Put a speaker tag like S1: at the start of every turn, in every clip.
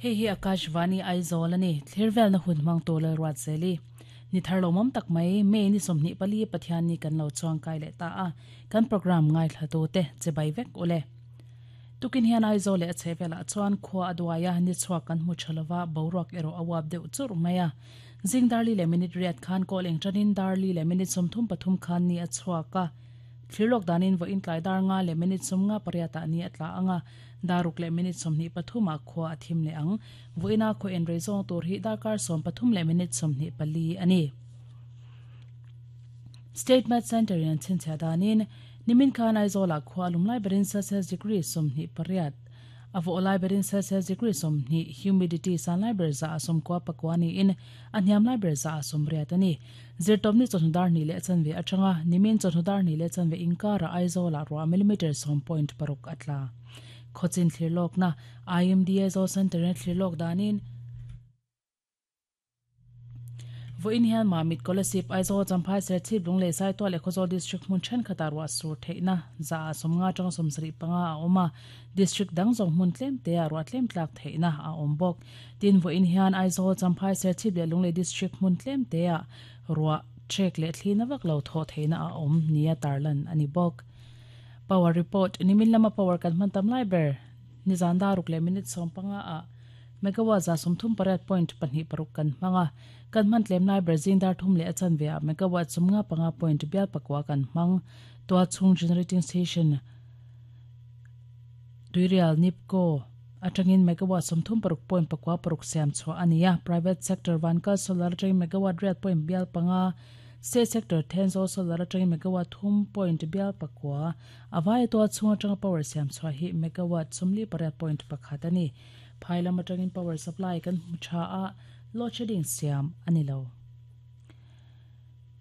S1: Hei hi Akashvani Aizawl a ni, thlir velna hun hmang tur Lalruatzeli. Ni thar lawmawm tak mai, May ni 24 Pathianni kan lo chuangkai leh ta a, kan programme ngaithlatute che bai vek u le. Tukin hian Aizawl leh a chhehvelah chuan khua a duai a, ni chhuak kan hmu tha lova, boruak erawh a uap deuh churh mai a. Zing darli leh minute riat khan kawl eng tanin darli leh minute 33 khan ni a chhuak a. Thlir lawk danin vawiin tlai dar nga leh minute 58 ah ni a tla ang a, daruk leh minute 23 ah khua a thim leh ang. Vawiina khaw en rei zawng tur hi darkar 13 leh minute 24 a ni. State Med Centre in an chhinchhiah danin nimin khan Aizawl ah khua a lum lai berin Celsius degree 28, A vawh lai berin Celsius degree 20, humidity san lai ber za a 99 niin a hniam lai ber za a 80 a ni. Zirtawpni chawhnu dar hnih leh chanve atanga nimin chawhnu dar hnih leh chanve inkarah Aizawlah ruah millimetre 10.6 a tla. Khawchin thlir lawkna IMD Aizawl Centre-in a thlir lawk danin, Vawiin hian Mamit, Kolasib, Aizawl, Champhai, Serchhip, Lunglei, Saitual leh Khawzawl District hmun thenkhatah ruah sur theihna za ah 50 atanga 75 a awm a, District dang zawng hmun tlem te ah ruah tlem tlak theihna a awm bawk. Tin, vawiin hian Aizawl, Champhai, Serchhip leh Lunglei District hmun tlem te ah ruah trek leh thli na vak lo thawh theihna a awm nia tarlan a ni bawk. Power Report, Nimin lama power kan hman tam lai ber nizan daruk leh minute 15 ah Megawatt 38 point pahnih paruk kan hmang a, kan hman tlem lai ber zing dar thum leh a chanve ah megawatt 55 point bial pakua kan hmang. Tualchhung Generating Station Tuirial NEEPCO atangin megawatt 36 point pakua paruk siam chhuah a ni a, private sector Vankal Solar atangin megawatt riat point bial panga, state sector Thenzawl Solar atangin megawatt thum point bial pakua, a vaia tualchhung atanga power siam chhuah hi megawatt 48 point pakhat a ni. Phai lam atangin power supply kan hmu tha a, load shedding siam a ni lo.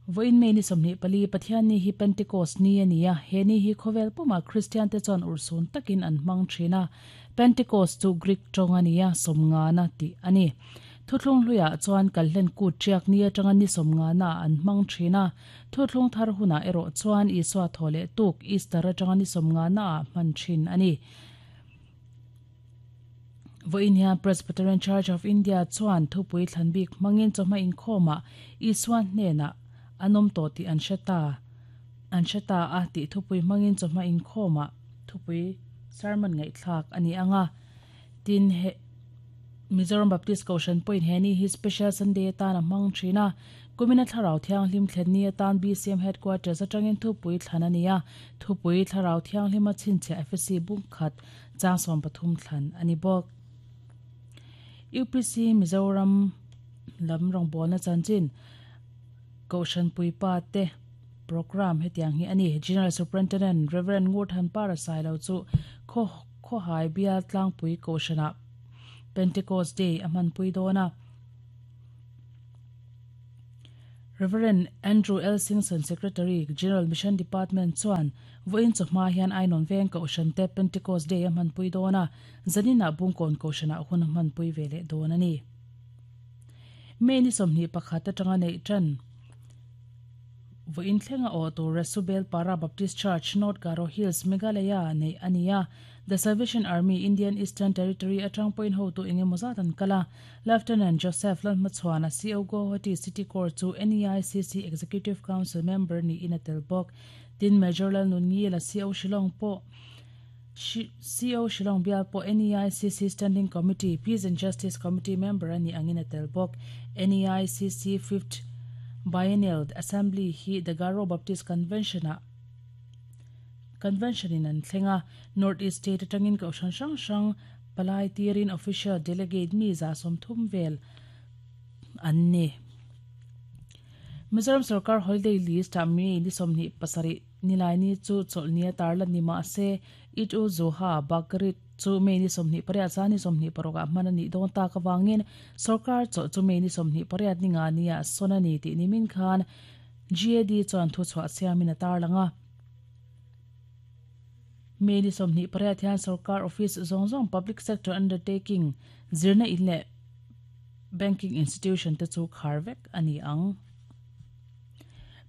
S1: Vawiin May ni 24, Pathianni hi Pentecost ni a ni a, he ni hi khawvel pumah Kristian te chuan urhsun takin an hmang thin a. Pentecost chu Greek tawng a ni a, sawmngana tih a ni. Thuthlung hluiah chuan kalhlen kut tiak ni atanga ni sawmngana ah an hmang thin a, thuthlung thar hunah erawh chuan Isua thaw leh tuk Easter atanga ni sawmngana ah hman thin a ni. Vawiin hian Presbyterian Church of India chuan thupui thlan bik hmangin chawhma inkhawmah Isua hnenah an awm tawh tih an hre ta an hre ta a tih thupui hmangin chawhma inkhawmah thupui sermon ngaihthlak a ni ang a. Tin, he Mizoram Baptist Kohhran pawhin he ni hi Special Sunday atan a hmang thin a. Kumina Thlarau Thianghlim thlen ni atan BCM Headquarters atangin thupui thlan a ni a. Thupui Thlarau Thianghlima chhinchhiah Ephesi bungkhat Chang 13 thlan a ni bawk. UPC Mizoram lam rawngbawlna chanchin Kohhran Puipa te programme hetiang hi a ni. General Superintendent Rev. Ngurthanpara Sailo chu Khawhai Bial Tlangpui Kohhranah Pentecost Day a hmanpui dawn a. Rev. Andrew L. Singson, Secretary, General Mission Department chuan Vawiin chawhma hian Ainawn veng Kohhran te Pentecost Day a hmanpui dawn a, zaninah Bungkawn Kohhranah hun a hmanpui ve leh dawn a ni. May ni 21 atanga neih tan Vawiin thlenga awh tur Resubel Para Baptist Church, North Garo Hills, Meghalaya neih a ni a. The Salvation Army, Indian Eastern Territory atang pawhin hotu eng emaw zat an kal a. Lieutenant Joseph Lalhmachhuana, CO Guwahati City Corps chu NEICC Executive Council member niin a tel bawk. Tin, Major Lalnunngila, CO Shillong pawh CO Shillong bial pawh NEICC Standing Committee, Peace and Justice Committee member a nih angin a tel bawk. NEICC Fifth Biennial Assembly hi The Garo Baptist Convention-ah Convention-in an thleng a, North East State atangin kohhran hrang hrang palai tirin official delegate mi 30 vel an ni. Mizoram sorkar holiday list ah May ni 27 Nilaini chu chawlhni a tarlan ni mah se, Eid ul Zuha, Bakrid, chu May ni 28 zan ni 26 ah hman a nih dawn tak avangin sorkar chawlh chu May ni 28 ni nga nia sawn a ni tih nimin khan GAD chuan thuchhuah siamin a tarlang a. May ni 28 hian sorkar office zawng zawng, public sector undertaking, zirna in leh Banking institution te chu khar vek a ni ang.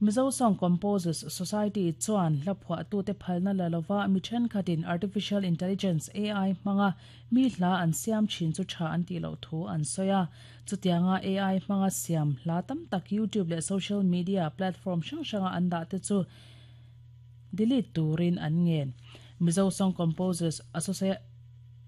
S1: Mizo Song Composers Society chuan hla phuahtute phalna la lova mi thenkhatin Artificial Intelligence, AI, hmanga mi hla an siam thin chu tha an tih loh thu an sawi a. Chutianga AI hmanga siam hla tam tak YouTube leh social media platform hrang hranga an dah te chu delete turin an ngen. Mizo Song Composers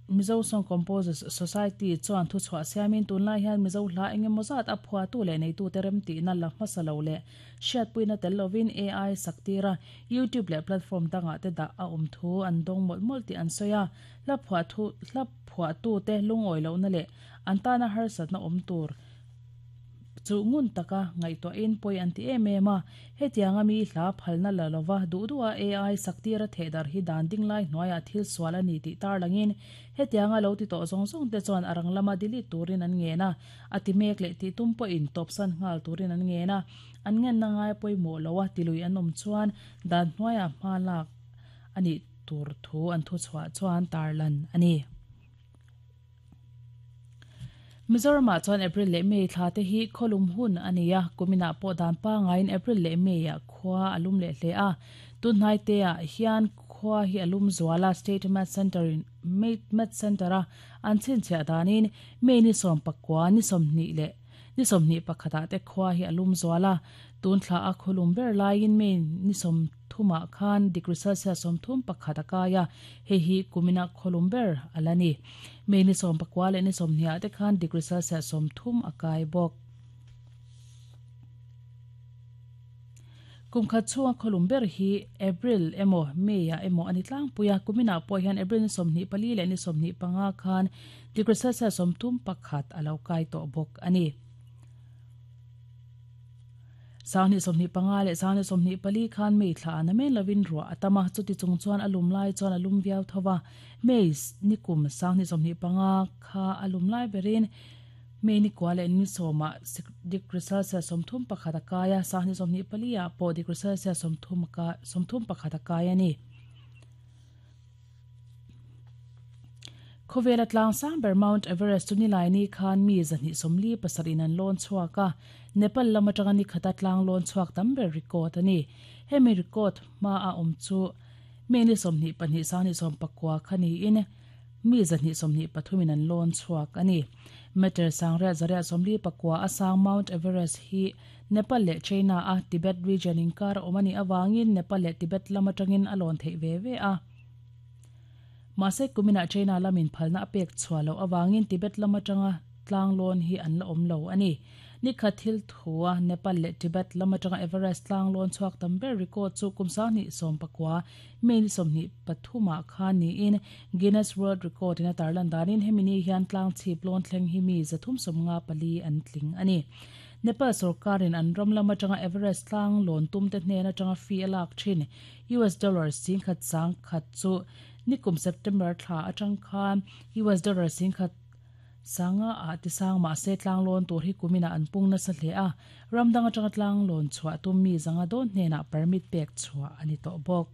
S1: Mizo Song Composers Society chuan thuchhuah siamin tunlai hian Mizo hla engemaw zat a phuatu leh neitute remtihna la hmasa lo leh hriatpuina tel lovin AI sak tira YouTube leh platform dangah te dah a awm thu an dawng mawlh mawlh tih an sawi a. Hla phuahtu hla phuahtute lungawi lohna leh an tana harsatna awm tur chu ngun taka ngaihtuahin pawi an ti em em a. Hetianga mi hla phalna la lova duh duha AI sak tira thehdarh hi dan ding lai hnuaiah thil sual a ni tih tarlangin hetianga lo ti tawh zawng zawng te chuan a rang lama delete turin an ngen a, a ti mek leh tih tum pawhin tawpsan nghal turin an ngen a. An ngenna ngai pawimawh loa tilui an awm chuan dan hnuaiah hma lak a nih tur thu an thuchhuah chuan tarlan a ni. Mizoramah chuan April leh May thla te hi khawlum hun a ni a, kuminah pawh dan pangaiin April leh May-ah khua a lum leh hle a. Tunhnai teah hian khua hi a lum zual a, State Met Centre-in Met Centre-a an chhinchhiah danin May ni sawmpakua ni 20 leh ni 21 ah te khua hi a lum zual a. Tun thla a khawlum ber laiin May ni 30 ah khan degree Celsius 31 a kai a, hei hi kumina khawlum ber a la ni. May ni 19 leh ni 20 ah te khan degree Celsius 30 a kai bawk. Kum khat chhunga khawlum ber hi April emaw May ah emaw a ni tlangpui a, kuminah pawh hian April ni 24 leh ni 25 khan degree Celsius 31 a lo kai tawh bawk a ni. Sanghnih 25 leh sanghnih 24 khan May thla a na men lovin ruah a tam a, chuti chung chuan a lum lai chuan a lum viau tho va. May nikum sanghnih 25 kha a lum lai berin May nikua leh ni sawmah degree Celsius 31 a kai a, sanghnih 24 ah pawh degree Celsius 31 a kai a ni. Khawvela tlang sang ber Mount Everest chu Nilaini khan mi 247 in an lawn chhuak a, Nepal lam atanga ni khata tlang lawn chhuak tam ber record a ni. Hemi record hma a awm chu mi ni 22 sang 19 kha niin mi 223 in an lawn chhuak a ni. Meter sangriat zariat 49 a sang Mount Everest hi Nepal leh China a Tibet region inkar a awm a nih avangin Nepal leh Tibet lam atangin a lawn theih ve ve a. Mahse kuminah China lamin phalna a pek chhuah loh avangin Tibet lam atanga tlang lawn hi an la awm lo a ni. Nikhat thil thua Nepal leh Tibet lam atanga Everest tlang lawn chhuak tam ber record chu kum 2019 May ni 23 ah khan niin Guinness World Record in a tarlan danin hemi ni hian tlang chhip lawn thleng hi mi 354 an tling a ni. Nepal sorkarin an ram lam atanga Everest tlang lawn tumte hnen atanga fee a lak thin US dollar singkhat sangkhat chu nikum September thla atang khan US dollar singkhat sanga ah tisang mahse tlang lawn tur hi kuminah an pung nasa hle a, ram dang atanga tlang lawn chhuah tum mi zanga dawn hnenah permit pek chhuah a ni tawh bawk.